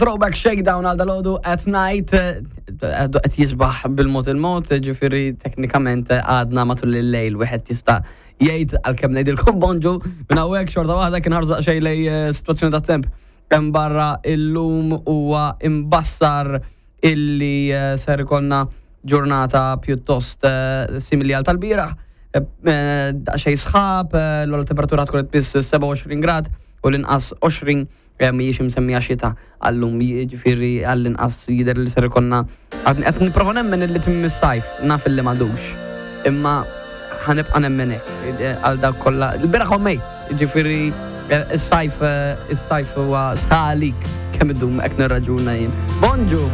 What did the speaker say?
Throwback Shakedown għal dalodu at night qed jisbaħ bil-mod il-mod, ġifieri teknikament għadna matul il-lejl wieħed jista' jgħid għalkemm ngħidilkom bonġu minn hawnhekk xorta waħda kien ħarżaq xejn lej eh, sitwazzjoni ta' temp hemm barra illum huwa imbassar illi eh, ser ikollna ġurnata pjuttost eh, simili għal tal-bieraħ. Daqsxejn sħab, l-ogħla temperatura tkun qed biss 27 grad u l-inqas 20 Mhijiex imsemmija xita għallum, jiġifieri għall-inqas jidher li ser ikollna qed nipprova nemmen illi tmiem is-sajf, naf illi m'għadux. Imma ħa nibqa' nemmen hekk għal dawk kollha. Il-bieraħ ommejt, jiġifieri is-sajf is-sajf huwa sta għalik kemm idum hekk nirraġuna jien. Bonġu!